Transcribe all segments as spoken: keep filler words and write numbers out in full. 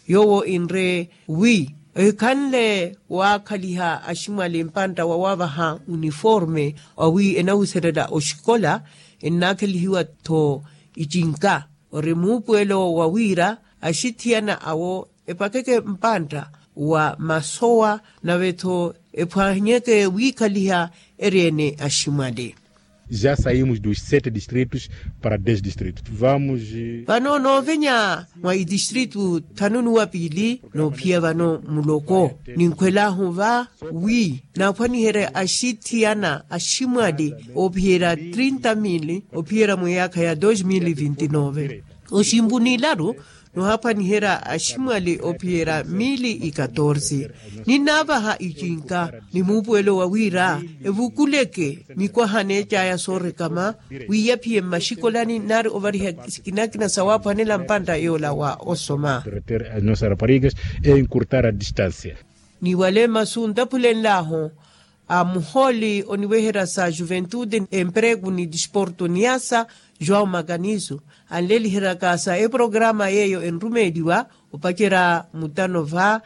Yoowo enre wi ehikhanle waakhaliha aximwali mpantta wa waavaha uniforme wa wi enahuselela oxikola, ennaakhelihiwa-tho icinka ori muupuwelo wa wira axithiyana awo epakeke mpantta wa masowa nave-tho ephwanyeke wiikhaliha eri-ene aximwali. Já saímos dos sete distritos para dez distritos. Vamos. Vano noovenya mwa idistritu thanu nuwa piili noophiya vano muloko ninkhwelahu va wi naaphwaniherya axithiyana aximwali oophiyerya trinta mili ophiyerya mweyaakha ya dos mili vinti nove. Oximpu nilaru nohaphwaniherya aximwali ophiyerya mili ikatorsi. Ninnaavaha icinka ni muupuwelo wa wira evukuleke mikwaha neecaya soorekama wi yaphiye mmaxikolani nari ovariha sikinakina sawaaphwanela mpantta yoola wa osoma. Nossas raparigas e encurtar a distância. Ni wale masu ntaphulenlahu a muhooli oniweherya sa juventude emprego ni disporto niasa joão makaniso anleliheryaka sa eprograma yeeyo enrumeeliwa opacerya mutano va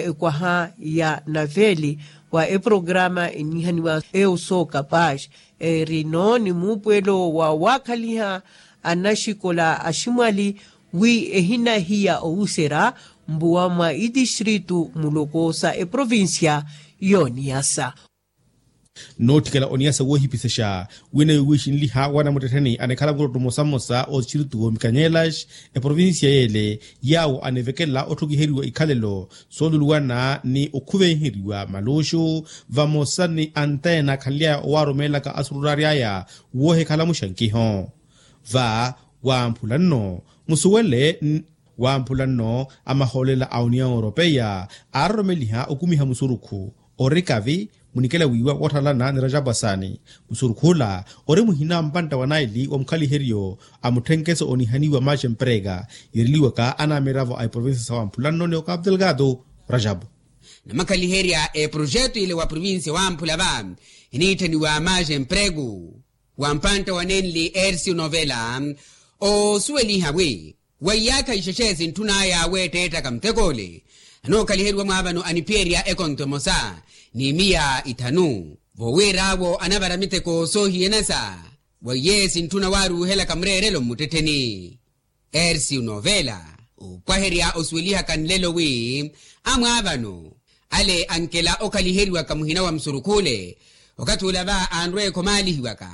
ekwaha ya naveli wa eprograma enihaniwa eu soo capaz erino ni muupuwelo wa waakhaliha anaxikola aximwali wi ehinahiya owuserya mbuwa mwa itistritu muloko sa eprovincia yooniyasa. Nootthikela oniyasa woohipisexa wina yowiixinliha wanamuttettheni anikhala mukutotto mmosa mmosa otistritu woomikanyeelax eprovincia yeele yaawo anivekela otthukiheriwa ikhalelo sooluluwana ni okhuvenheriwa maluxu vamosa ni anteena akhanly'aya owaarumeelaka asururaary'aya woohikhala muxankiho. Va wamphula nno musuwele wamphula nno amahoolela a union europeia aaroromeliha okumiha musurukhu ori kavi munikela wiiwa woothalana ni rajapu asani. Musurukhula ori muhina mpantta wa naili wa mukhaliheryo a mutthenkeso onihaniwa maxe mprega yeereliwaka anamiravo a eprovincia sa wamphula nno ni okapu delgado. Rajapu namakhaliherya eprojeto ile wa provincia wamphula va eniitthaniwa maxe mprego wa mpantta wa nenli ercio novela oosuweliha wi wa iyaakha ixexe sintthun'aya weetteettaka mutek'ole anookaliheriwa mwaavano aniphiyerya ekonto emosa ni miya ithanu voowir'awo anavara miteko soohiyanasa wa iye sintthuna waaruuhelaka mureerelo mmuttettheni. Ercio novela oopwaherya osuwelihaka nlelo wi amwaavano ale ankela okhaliheriwaka muhina wa musurukhule okathi ula va anrweekha omaalihiwaka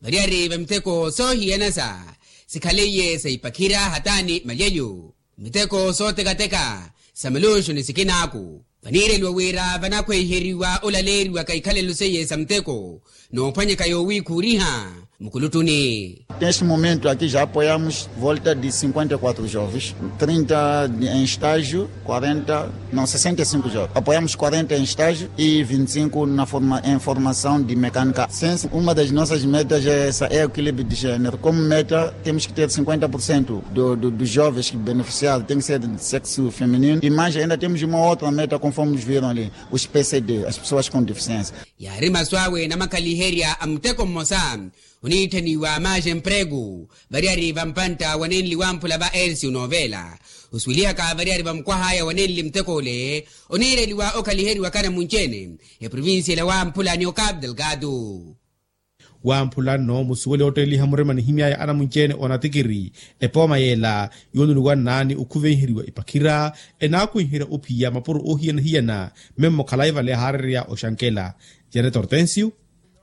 variyari va miteko soohiyanasa sikhaleiye sa ipakhira hataani malyeyo miteko sootekateka sa maluxu ni sikinaaku vaniireliwa wira vanakhweiheriwa olaleeriwaka ikhalelo seiye sa muteko noophwanyaka yoowiikhuuriha mukuluttuni. Neste momento aqui já apoiamos volta de cinquenta e quatro jovens, trinta em estágio, quarenta não sessenta e cinco jovens apoiamos quarenta em estágio e vinte e cinco na forma em formação de mecânica. Uma das nossas metas é essa é o equilíbrio de género como meta temos que ter cinquenta por cento dos jovens que beneficiaram tem que ser de sexo feminino e mais ainda temos uma outra meta conforme viram ali os pcd as pessoas com deficiência. Yaari masu awe namakhaliherya a muteko mmosa oniitthaniwa maxe mprego variyari va mpantta wa nenli wamphula va ercio novela osuwelihaka variyari va mukwah'aya wa nenli muteko ole oniireliwa okhaliheriwaka namunci-ene eprovincia ela wamphula ni okapu delgado. Wamphula nno musuwele otteeliha murima nihimy'aya anamunci-ene onatikiri epooma yeela yooluluwanna ni okhuvenheriwa ipakhira enaakwinherya ophiya mapuro oohiyana-hiyana. Memmo khalayi vale ahaarerya oxankela janet hortensio.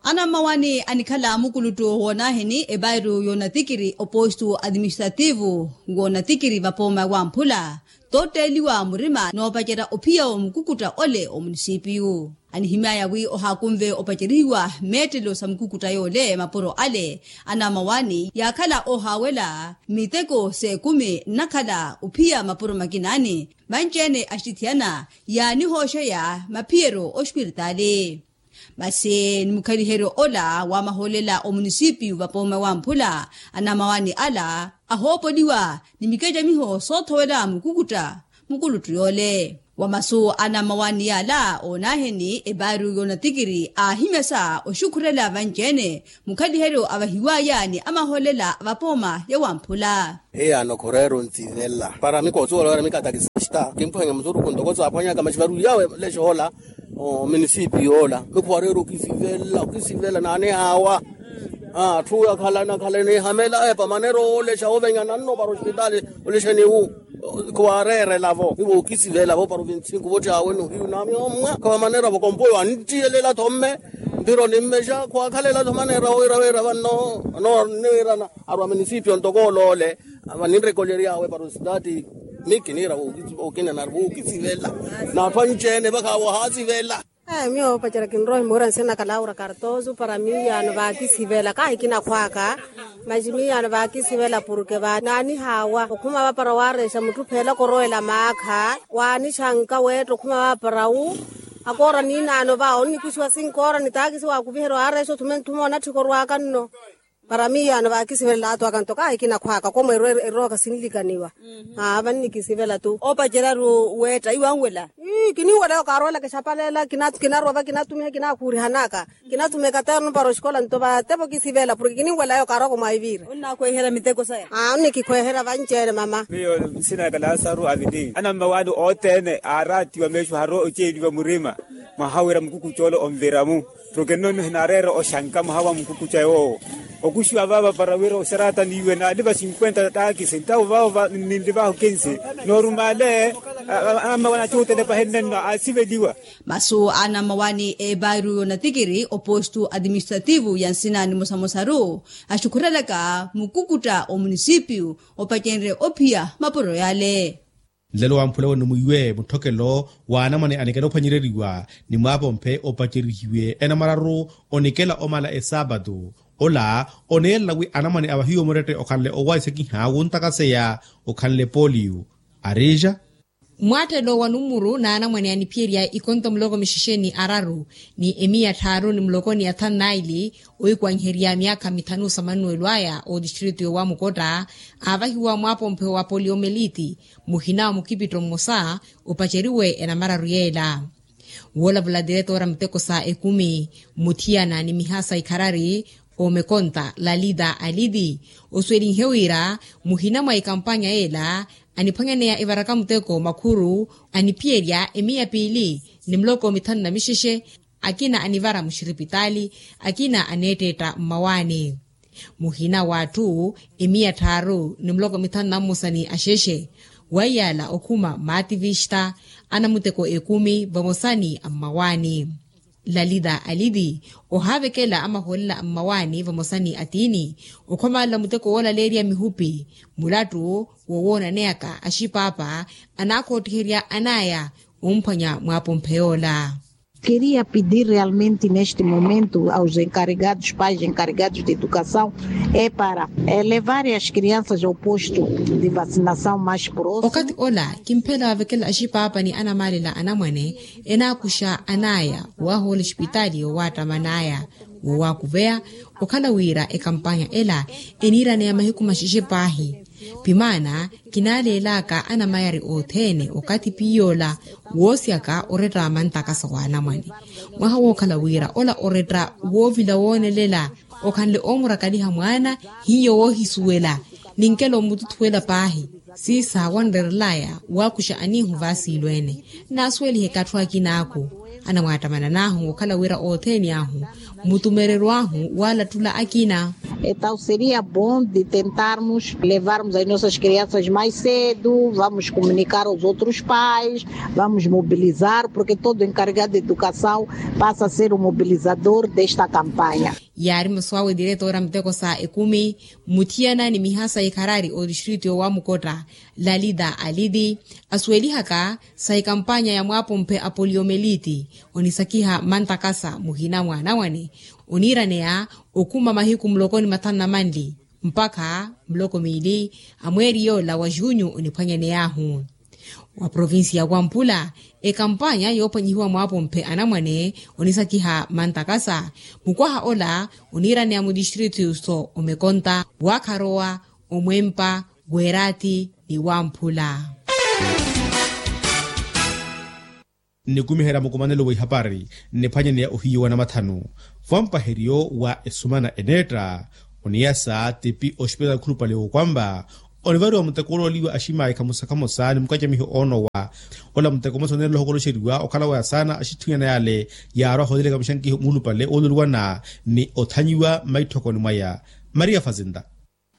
Anammawani anikhala mukuluttu woonaaheni epairu yoonatikiri opostu administrativu woonatikiri vapooma wamphula tootteeliwa murima noopacerya ophiya wa mukukutta ole omunisipiyu. Anihimy'aya wi ohaakunve opacerihiwa meettelo sa mukukutta yoole mapuro ale anamawani yaakhala ohaawela miteko s'ekumi nnakhala ophiya mapuro makinaani manci-ene axitithiyana yaanihooxeya maphiyeryo oxpiritaali. Masi ni mukhaliheryo ola wa mahoolela omunisipiyu vapooma wamphula anamawani ala ahoopoliwa ni mikecamiho soothowela mukukutta mukuluttu yoole. Wa masu a nammawaani yaala oonaheni epaari y'onatikiri aahimyasa oxukhurela vanci-ene mukhaliheryo avahiwaya ni amahoolela a vapooma ya wamphula. Hiyaano khureera ontsivela para mikoosuwela wira mikatakisista kimphwanya musuruku ntoko saaphwanyaka maxivaru yawe lexoola. Omunisipi yoola mikhuwareera okisivela okisivela naanihaawa. Atthu akhalana akhalana ehamela epa manera oolexa ovenyana nno para ospitali. Olexeni wu khuwareerela-vo ivo okisivela-vo para ovintsinku vottiya wenu hiyu namiyo mmwa khawamanera-vo kompoyo anttiyelelattho mme. Mpiro nimmexa khuwakhalela-tho manera wira wira vanno niwirana arwa munisipio ntoko oloole. Vaninrekolery'awe para ositati. Miki niira wokinenari wookisivela n'atthu anci-ene vakhawahaasivela. Miyo opacerya kinrowa imuura nsina kalaura kartosu para miiyaano vaakisivela kahi kinakhwaaka. Maxi miiyaano vaakisivela purke vaananihaawa okhuma vapara waarexa mutthu pheela korowela maakha waanixanka weetta okhuma vapara wu. Akoora niinaano va onnikuxiwa sinkoora ni taakisi waakuviherya waarexa othume nthuma onatthika orwaaka nno. Para miiyaano vaakisivelela athu aka nto kahi kinakhwaaka komwe erooka sinlikaniwa. Aa vannikisivela tu. Oopacerya-ru weetta iwanwela. Ii kininwela yo kaaroolaka exapaleela kinarwa va kinatumiha kinakhuurihanaka. Kinatumiha ekaterno para oxikola nto vatepa okisivela porke kininwela yo kaarooko mwaiviira. Onnakhweeherya miteko saya. Aa onnikikhweeherya vanci-ene mama. Miyo nsina yaka lasaru avili anammawaani othene aaraatiwa meexo haro oceeliwa murima. Mwaha wira mukukuca ole onvira-mu. Porke nno nihinareera oxanka mwaha wa mukukuca yoowo. Okuxiwa vaava para wira oxarata niiwe naaliva cinkwenta taakisi ntawo vaavo ninlivahu kinsi. Noorumale anammawaani acuutele pahenne nno aasiveliwa. Masu a anammawaani eepaaru y'onatikiri opostu atiministrativu ya nsina nimosamosaru axukhurelaka mukukutta omunisipiyu opacenrye ophiya mapuro yale. Nlelo wamphula wene mwiiwe mutthokelo w'anamwane anikela ophwanyereriwa ni mwaapomphe opacerihiwe enamararu onikela omala esaapatu. Ola oneelela wi anamwane a vahiyo murette okhanle owahisakiha wuntakaseya okhanle poliyu. Arija. Mwaattelo wa numuru n'anamwane aniphiyerya ikonto muloko mixexe ni araru ni emiya tthaaru ni muloko ni athanu naili oikwanherya myaakha mithanu sa mannuwelo aya otistritu yowamukotta aavahiwa mwaapomphe wa poliomeliti. Muhina wa mukipitto mmosa opaceriwe enamararu yeela. Woolavula tiretora muteko sa ekumi muthiyana ni miha sa ikharari omekonta lalita aliti osuwelinhe wira muhina mwa ekampanya yeela aniphwanyaneya evaraka muteko makhuru aniphiyerya emiya piili ni muloko mithanu na mixexe. Akina anivara muxiripitaali akina aneetteetta mmawaani. Muhina w'atthu emiya tthaaru ni muloko mithanu na mmosa ni axexe. Waiyala okhuma maativixa anamuteko ekumi vamosa ni ammawaani. Lalita aliti ohaavekela amahoolela ammawaani vamosa ni atiini okhomalela muteko woolaleerya mihupi. Mulattu wowoonaneyaka axipaapa anaakhoottiherya anaya omphwanya mwaapomphe yoola. Queria pedir realmente neste momento aos encarregados pais encarregados de educação é para levarem as crianças ao posto de vacinação mais próximo. Okathi ola kimphela wavekela axipaapa ni anamaalela anamwane enaakuxa anaya wahoola exipitaali yowaattamanaya wowakuveya. Okhala wira ekampanya ela eniiraneya mahiku maxexe paahi. Pimaana kinaaleelaka anamayari othene okathi piiy'ola woosyaka oretta mantakasa w'anamwane. Mwaha wookhala wira ola oretta woovila woonelela okhanle oomurakaliha mwaana hiyo woohisuwela. Ninkelo mmututhuwela paahi siisawa nreerelaya waakuxa aniihu vaasiilweene. Naasuweliheke atthu akinaaku anamwaattamana naahu okhala wira othene ahu mmutumereryo ahu waalattula akina. Entaw seria bom de tentarmos levarmos as nossas crianças mais cedo vamos comunicar aos outros pais vamos mobilizar porke todo encarregado de educação passa a ser o mobilizador desta campanha. Yaari masu awe diretora muteko sa ekumi muthiyana ni miha sa ikharari otistritu yowamukotta lalita aliti asuwelihaka sa ekampanya ya mwaapomphe a poliomeliti onisakiha mantakasa muhina mwa anamwane oniiraneya okhuma mahiku muloko ni mathanu na manli mpakha muloko miili a mweeri yoola wa junyu oniphwanyaney'ahu. Wa provincia ya wampula ekampanya yoophwanyihiwa mwaapomphe anamwane onisakiha mantakasa mukwaha ola oniiraneya mutistritu so omekonta waakharowa omwempa weeraati ni wamphula. Nnikumiherya mukumanelo wa ihapari nniphwanyaneya ohiyu wa namathanu. Vampaheriyo wa esumana eneetta oniyasa tipi oxipitali khulupale wookwampa onivariwa muteko olooliwa aximaayi khamosa khamosa ni mukacamiho oonowa. Ola muteko mmosa oneerela ohokoloxeriwa okhala waya saana axitthuyana yale yaarwa ahooleleka mixankiho muulupale oololuwana ni othanyiwa mmaitthokoni mwaya. Maria fazinta.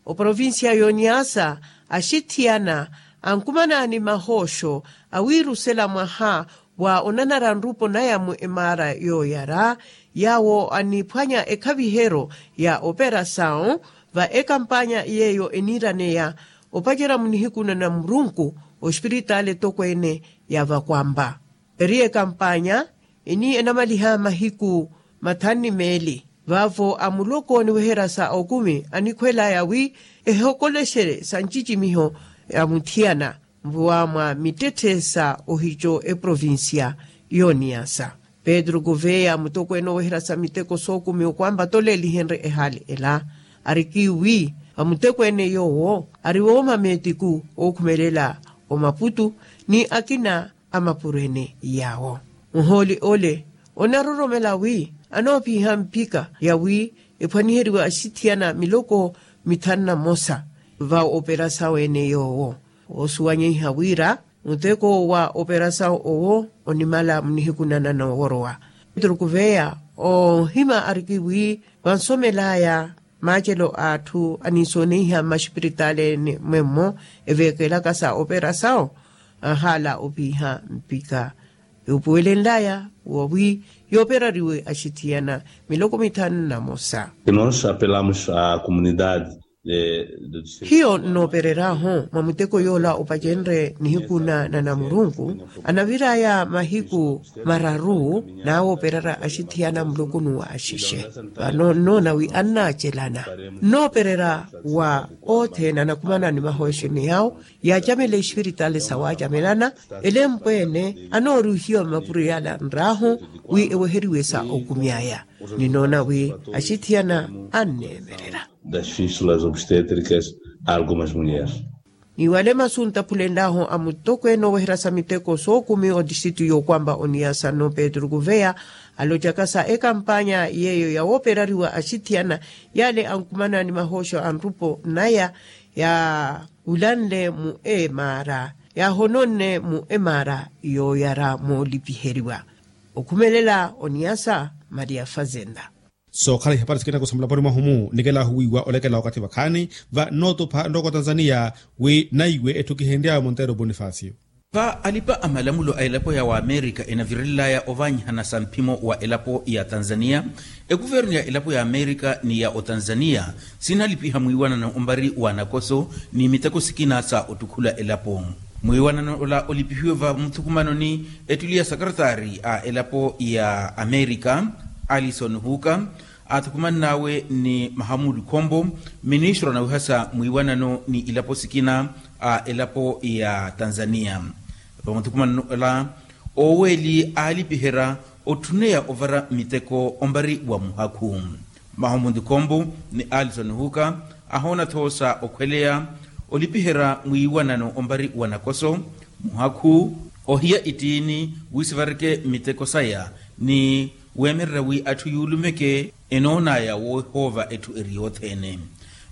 Oprovincia y'oniasa axithiyana ankumana ni mahooxo awiirusela mwaha wa onanara nrupo naya mu emaara yooyara yaawo aniphwanya ekhaviheryo ya operasawu va ekampanya yeeyo eniiraneya opacerya munihiku na namurunku oxipiritaali etokweene ya vakwampa. Eri ekampanya eni enamaliha mahiku mathanu ni meeli vaavo amuloko oniweherya sa okumi anikhwelaya wi ehokolexerye sa ncicimiho ya muthiyana mvuwa mwa mittetthe sa ohico eprovincia y'oniyasa. Petru kuveya mutokweene oweherya sa miteko sookumi okwampa toleelihenrye ehaali ela ariki wi vamuteko ene yoowo ari wooma meetiku ookhumelela omaputu ni akina amapuro ene yaawo. Muhooli ole onaroromela wi anoopiha mpika yawi ephwaniheriwe axithiyana miloko mithanu na mosa va operasawu ene yoowo. Woosuwanyeiha wira muteko wa operasawu owo onimala munihiku nanano worowa. Petru kuveya ohima ariki wi vansomelaya maacelo a atthu aniisooneiha mmaxipiritaali ene mwemmo eveekelaka sa operasawu ahaala opiha mpika. Yuupuwelenlaya wawi yooperariwe axithiyana miloko mithanu na mosa. Hiyo nnoopereryahu mwa muteko yoola opacenrye nihiku na namurunku anaviraya mahiku mararu naawoopererya axithiyana mulukunu wa axixe. Vano nnoona wi annaacelana nnoopererya wa othene anakumana ni mahoxeni yawo yaacamela exipiritaali sawaacamelana elempweene anoorihiwa mmapuro yala nraahu wi eweheriwe sa okumyaya. Ninoona wi axithiyana anneemererya das fístulas obstétricas a algumas mulheres. Ni wale masu ntaphulenlahu a mutokweene oweherya sa miteko sookumi otistritu yookwampa oniyasa no petru kuveya alocaka sa ekampanya yeeyo yawooperariwa axithiyana yale ankumana ni mahooxo a nrupo naya yawulanle mu emaara yaahononne mu emaara yooyara moolipiheriwa. Okhumelela oniyasa maria fazenda. Sookhala ihapari sikina kosamula pori mwahumu nikelahu wiiwa olekela wakathi vakhaani va nootupha nrooko tanzania wi naiwe etthu kihenry'awe monteiro bonifacio. Va alipa a malamulo a elapo ya waamerika enavirelelaya ovaanyihana sa mphimo wa elapo ya tanzania, ekuvernu ya elapo ya amerika ni ya otanzania sinalipiha mwiiwanano ompari wa nakoso ni miteko sikina sa ottukhula elapo. Mwiiwanano ola olipihiwe va muthukumanoni ettuli ya sakarataari a elapo ya amerika alison huka aathukumannaawe ni mahamudu khombo ministro anawihasa mwiiwanano ni ilapo sikina a elapo ya tanzania. Vamuthukumanano ola oweeli aalipiherya otthuneya ovara miteko ompari wa muhakhu. Mahamudu khombo ni alison huka ahoona-tho sa okhweleya olipiherya mwiiwanano ompari wa nakoso muhakhu ohiya ittiini wi sivareke miteko saya ni weemererya wi atthu yuulumeke enoonaya woohoova etthu eri yothene.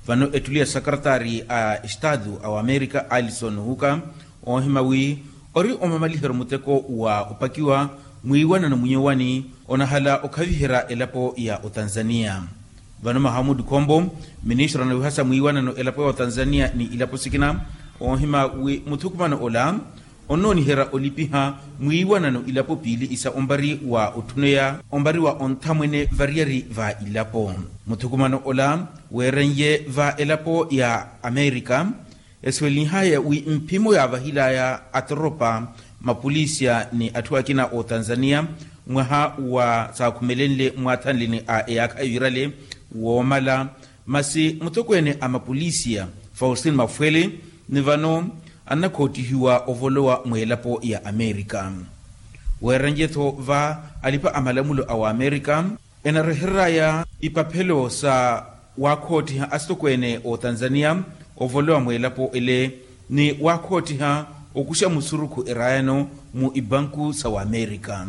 Vano ettuli ya sakarataari a estatu a wamerika alison huka oohima wi ori omamaliheryo muteko wa opakiwa mwiiwanano munyowani onahala okhaviherya elapo ya otanzania. Vano mahamudu khombo ministro anawihasa mwiiwanano elapo ya otanzania ni ilapo sikina oohima wi muthukumano ola onnooniherya olipiha mwiiwanano ilapo piili isa ompari wa otthuneya ompari wa onthamwene variyari va ilapo. Muthukumano ola weeren'ye va elapo ya amerika esuwelinhaya wi mphimo yaavahilaya atoropa mapolisiya ni atthu akina otanzania mwaha wa saakhumelenle mwaathanleni a eyaakha ivirale woomala masi mutokweene a mapolisiya faustin mafwele ni vano annakhoottihiwa ovolowa mweelapo ya amerika. Weeren'ye-tho va alipa a malamulo a waamerika enarehereraya ipaphelo sa waakhoottiha asitokweene otanzania ovolowa mweelapo ele ni waakhoottiha Okuxa musurukhu erayano mu ibanku sa wamerika.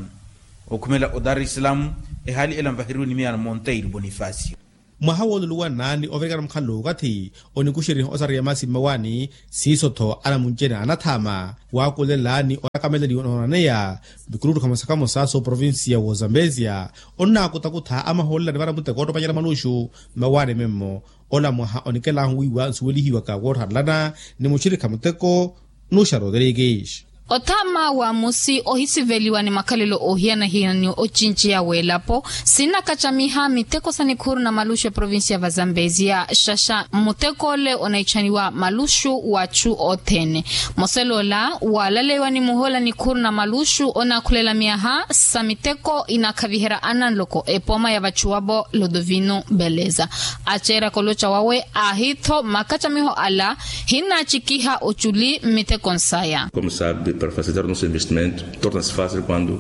Okhumela o dar es salaam, ehali ela nvaheriwe ni miyano monteiro bonifacio. Mwaha wooluluwana ni ovirikana mukhalelo wookathi, onikuxeriha osariya masi mmawaani. Siiso-tho anamunci-ene anathaama waakulela ni onakameleliwa noonaneya mikuluttu khamosa khamosa sooprovincia woosambesia, onnaakutakutha amahoolela nivara muteko oottopanyerya maluxu. Mmawaani memmo, ola mwaha onikelahu wiiwa nsuwelihiwaka wootharelana ni muxirikha muteko nuxa rodrigues. Othaama wa musi ohisiveliwa ni makhalelo oohiyana-hiyana ni ocinci ya welapo, sinakacamiha miteko sa nikhuru na maluxu eprovincia va zambesia xaxa muteko ole onaitthaniwa maluxu w'achu othene. Moselo ola walaleiwa ni muhoola nikhuru na maluxu onakhulela miyaha sa miteko inakhaviherya ananloko epoma ya vachuwavo lodovino beleza. Aceeraka oloca wawe aahi-tho makacamiho ala hinnacikiha oculi mmiteko nsaya.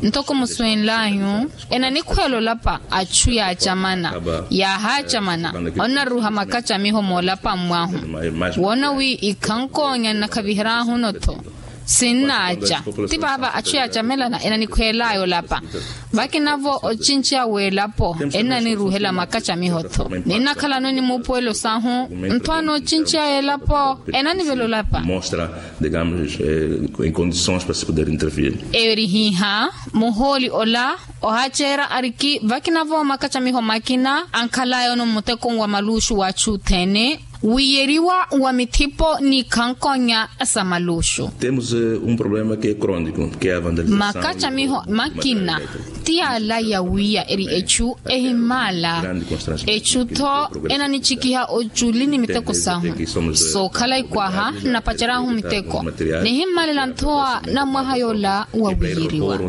Ntoko muswenl'anyu, enanikhweela olapa achu yaacamana. Yaahaacamana onnaruha makacamiho moolapa mw'ahu. Woona wi ikhankoonya nnakhavihery'ahu-no-tho sinnaaca. Ti vaava achu yaacamelana enanikhweel'aya olapa. Vakinavo ocinci a w'elapo ennaniruhela makacamiho-tho. Ninnakhalano ni muupuwelo sahu nthwaano ocinci a elapo enanivela olapa. Erihiha muhooli ola ohaaceera ariki vakinavo makacamiho makina ankhal'aya ono mmutekoni wa maluxu w'achu othene. Wiyeriwa wa mithipo n'ikhankonya sa maluxu. Makacamiho makina ti ala ya wiya eri echu ehimmala. Echu-tho enanicikiha oculi ni miteko sahu. Sookhala ikwaha nnapaceryahu miteko nihimmalela nthowa na mwaha yoola wa wiyeriwa.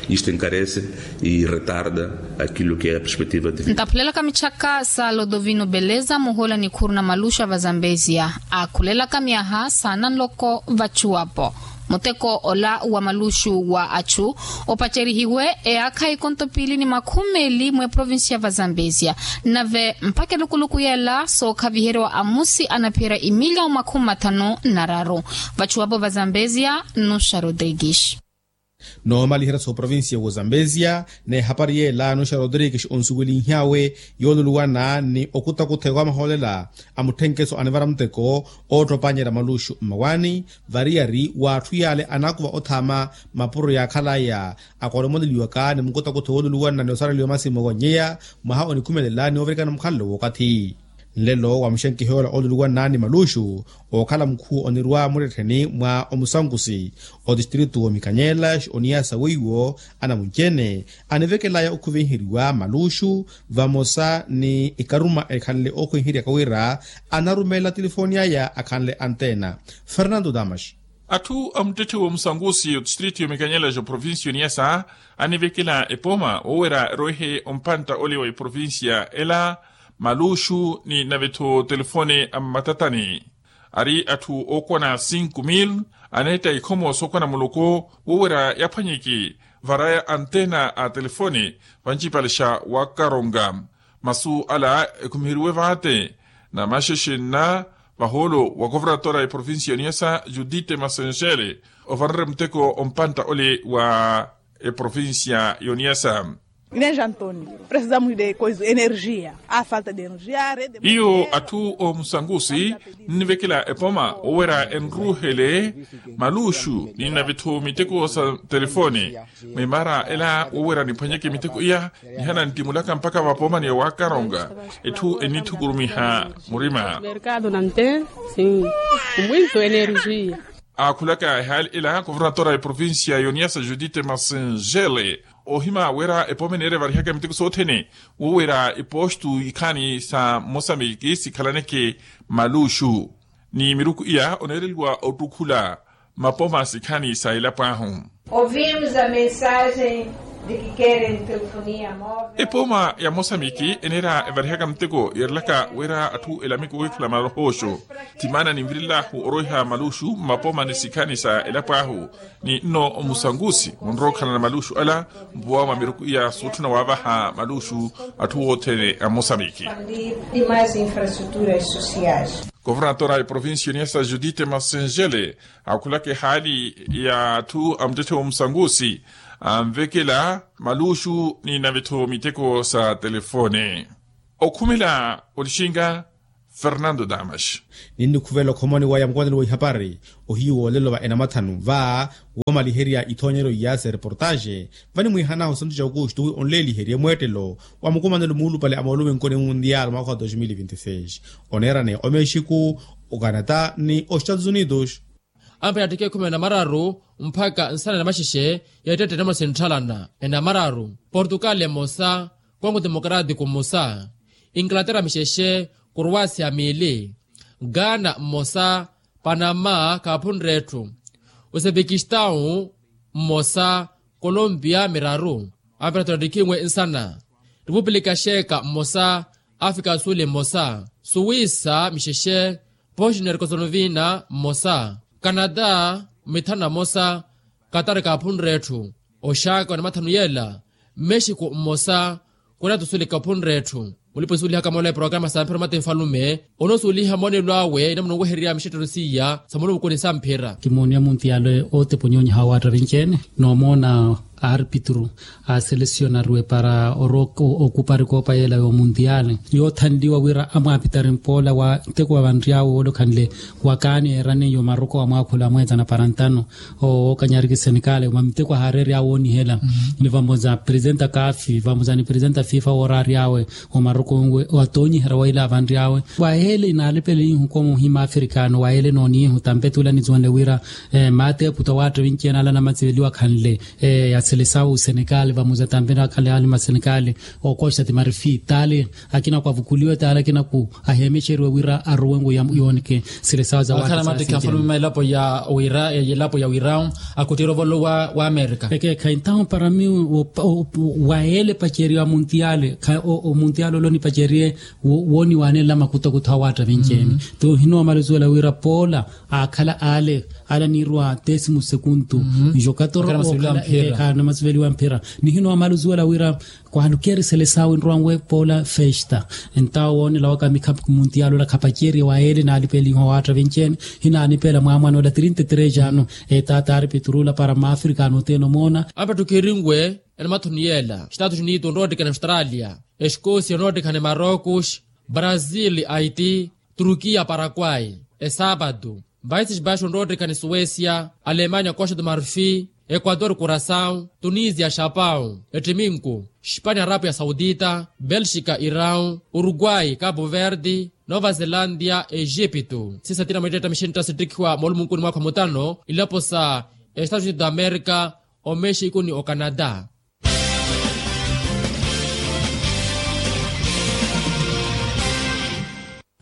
Isto encarece e retarda aquilo que é a perspectiva de vida. Ntaphulelaka michaka sa lodovino beleza muhoola nikhuru na maluxu a vazambezia aakhulelaka miyaha saana nloko vachuwapo. Muteko ola wa maluxu wa achu opacerihiwe eyaakha ikonto piili ni makhumi meeli mweprovincia vazambezia. Nave mpakha elukuluku yela sookhaviheriwa amusi anaphiherya imiliyawu makhumi mathanu na raru. Vachuwapo vazambezia nuxa rodrigues. Noomaliherya sooprovincia w'ozambezia n'ehapari yeela nuxa rodrigues onsuwelinhyawe yooluluwana ni okutakutha ewa amahoolela a mutthenkeso anivara muteko oottopanyeerya maluxu mmawaani. Variyari w'atthu yaale anaakuva othaama mapuro yaakhalaya akoolomoleliwaka ni mukutakutha wooluluwana ni osareliwa masi mmowa nnyeya mwaha onikhumelela ni ovirikana mukhalelo w'okathi. Nlelo wa muxenkiha yoola ooluluwana ni maluxu ookhala mukhuwo onirwa muttettheni mwa omusankusi otistritu w'omikanyela oniyasa weiwo anamunci-ene anivekelaya okhuvenheriwa maluxu vamosa ni ikaruma ekhanle okhwenheryaka wira anarumelela telefoni aya akhanle antena. Fernando damas. Atthu a muttetthe w'omusankusi otistritu y'omikanyela ja oprovincia oniyasa anivekela epoma woowera erwehe ompantta ole wa eprovincia ela maluxu ni nave-tho telefone a mmatatani. Ari atthu ookwana cinco mil aneetta ikhomo sookwana muloko woowera yaphwanyeke varaya antena a telefone vancipale xa wakaronga. Masu ala ekhumiheriwe vaate na maxexe nna vahoolo wa kovernatora ya eprovincia ya oniyasa judite masengele ovarerya muteko ompantta ole wa eprovincia ya oniyasa. Ineja antoni presizamu de koizo energia a falta de energia rede iyo atthu omusankusi nnivekela epoma woowera enruuhele maluxu ni nave-tho miteko sa telefone. Mwimaara ela woowera niphwanyeke miteko iya nihana ntimulaka mpakha vapomani ya wakaronga. Etthu ennithukurumiha murima. Merkado nante si kumwinto energia. Aakhulaka ehaali ela kovernatora ya eprovincia ya oniyasa judite masengele oohima wira epoma eneerya varihaka miteko sothene woowira epostu ikhaani sa mosambiki sikhalaneke maluxu. Ni miruku iya oneereliwa ottukhula mapoma sikhaani sa elapo ahu. Ouvimos a mensagem Epooma ya mosamiki eneera evarihaka muteko yeerelaka wira atthu elamiki woohikhala malahooxo. Timaana ninvirilahu orweha maluxu mmapooma ni sikhani sa elapo ahu, ni nno omusangusi munrowa okhalana maluxu ala mpuwa mwa miruku iya sootthuna waavaha maluxu atthu othene a mosamiki. Governatora a provincia oniasa judite masenjele akhulaka ehaali ya atthu a muttetthe wa omusangusi anvekela maluxu ni navetho miteko sa telefone. Okhumela onixinga fernando damas. Ninnikhuvela okhomoni wa yamukumanelo wa ihapari ohiyu woolelo va enamathanu va woomaliherya ithoonyelo iya sa ereportaxe. Vanimwiihanahu santu ja aukustu wi onleeliherye mweettelo wa mukumanelo muulupale a moolumenko ni mundial mwaakha wa dos mil vinti seis oneerane omexiku, ocanada ni ostados unidos. Ampela attikha ekhumi na mararu mpakha nsana na maxexe ya ettette enamuna sintthalana ena mararu portugal emosa, kongo democratico mmosa, inglaterra mixexe, croacia miili, ghana mmosa, panama khaaphunre etthu, uzebekistau mmosa, colombia miraru, ampela tottikhinwe nsana, repupulika xeeka mmosa, afrika suli mmosa, suwisa mixexe, bosnia herkosonovina mmosa, canada mithanu na mmosa, katari kaaphunre etthu, oxaka wa namathanu yela, mexico mmosa, kona tusuli kaaphunre etthu. Mulipa osuulihaka moolo ya programa sa mphira omati nfalume onoosuuliha moonelo awe inamuna onwehererya mixettelo siiya sa mulumukuni sa mphira. Kimooniya muntiyaale otepa onyonyeha wa waatta vinci-ene noomoona aarpitru a selesionariwe para oroka okupari koopa yeela y'omuntiyaale yoothanliwa wira amwaapitari mpoola wa nteko wa vanryawe woolokhanle wakaani eeraniye omaruko wa mwaakhula mweetsana para ntano. Owookanyariki senikale mwa miteko ahaareerya awoonihela ni vamoza presidenta kafi vamoza ni presidenta fifa wooraary'awe omarukunwe watoonyiherya wa ila avanry'awe. Wayeele inaalipela ihu komuhima afrikano wayeele nooniihu tampe tuula nisuwenle wira maata eputa waatta vinci-ene ala namatsiveliwa khanle ya selesawu senikale vamoza tampe nakhanle ali masenikale. Okoxa ti marifi taale akina kwavukuliwe taale akina ku aheemexeriwe wira aruwenku yooneke sile sawa za wakhana mattikha mfalume ma elapo ya wira elapo ya wira. Akuttiira ovolo wa amerika. Ekeekha entaho para mi wayeele paceriwa muntiyaale. Omuntiyaale ole onipaceriye wooniwaanela makutakutha awaatta vinci-ene. Ti ohinoomala osuwela wira poola aakhala ale ala niirwa tesimu sekuntu. Jokator okhala ekeekha namasiveliwa mphira nihinoomala osuwela wira kwalukeeri selesawe nrowanwe poola festa. Entawo woonela waka mikhapu muntiyaale ola khapaceriye wayeele naalipeeliha owaatta vinci-ene. Hinaanipeela mwaamwana ola trinta e três ano etaata aari piturula para maafrika anoteena omoona. Ampettukhirinwe enamathoni yeela estatus unidos onroottikana australia, escosia onroottikana marocos, brazil, haiti, turkiya, paraguay, esapatu, países baixos onroottikana suécia, alemania, costa do marfi, equator, curaçao, tunisia, chapao, ettiminku, espania, arabia saudita, belxika, irão, uruguay, cabo verde, nova zelandia, egipto. Siisa tina mweettetta mixintta sittikhiwa moolumunkuni mwaakha mutano ilapo sa estados unidos da amerika, omexico ni ocanada.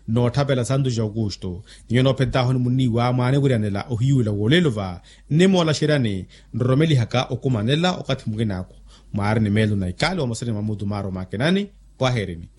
Nootthapela santu ja aukusto ninyo noophentahuni munniiwa mwaaniwiryanela ohiyuwela woolelo va nnimoolaxeryani nroromelihaka okumanela okathi mukinaku. Mwaari ni meelo na ikaali wa masani mwa mutumaro makinani. Pwaheerini.